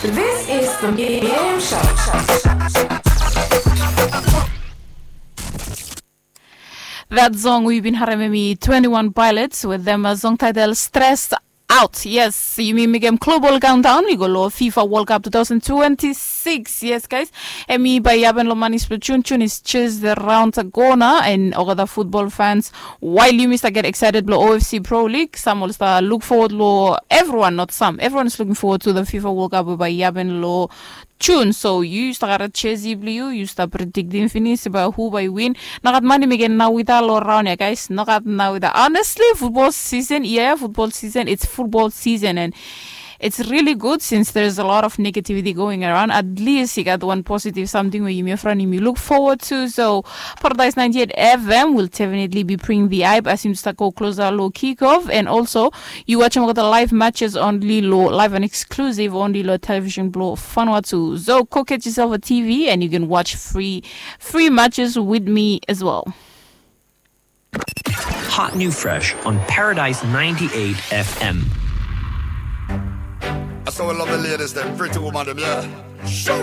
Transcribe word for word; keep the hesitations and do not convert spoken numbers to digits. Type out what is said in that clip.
This is the Game Show. That song we bin harem hemi twenty-one Pilots with them a song title Stressed Out. Yes, yumi mekem global countdown i go lo FIFA World Cup two thousand twenty-six. Yes, guys. Hemi bae i hapen lo manis blo June. June is just around the corner, and olgeta football fans, while yumi stap get excited blo O F C Pro League, sam oli stap look forward lo, everyone, not some, everyone is looking forward to the FIFA World Cup we bae i hapen lo June. So yu stap gat jersey blo yu, yu stap prediktim finis bae hu bae i win. Nogat mani mekem nao wita lo raon ya, guys. Nogat nao wita. Honestly, football season, yeah, football season, it's football season, and it's really good since there's a lot of negativity going around. At least i gat wan positive samting we yumi front yumi look forward to. So Paradise ninety-eight F M will definitely be bringing the hype as yumi stap go closer lo kickoff, and also yu wajem olgeta live matches only lo, live and exclusive only lo television blo Vanuatu. So go get yourself a T V and you can watch free, free matches with me as well. Hot new fresh on Paradise ninety-eight F M. I saw we love the ladies, them pretty woman, them, yeah. Show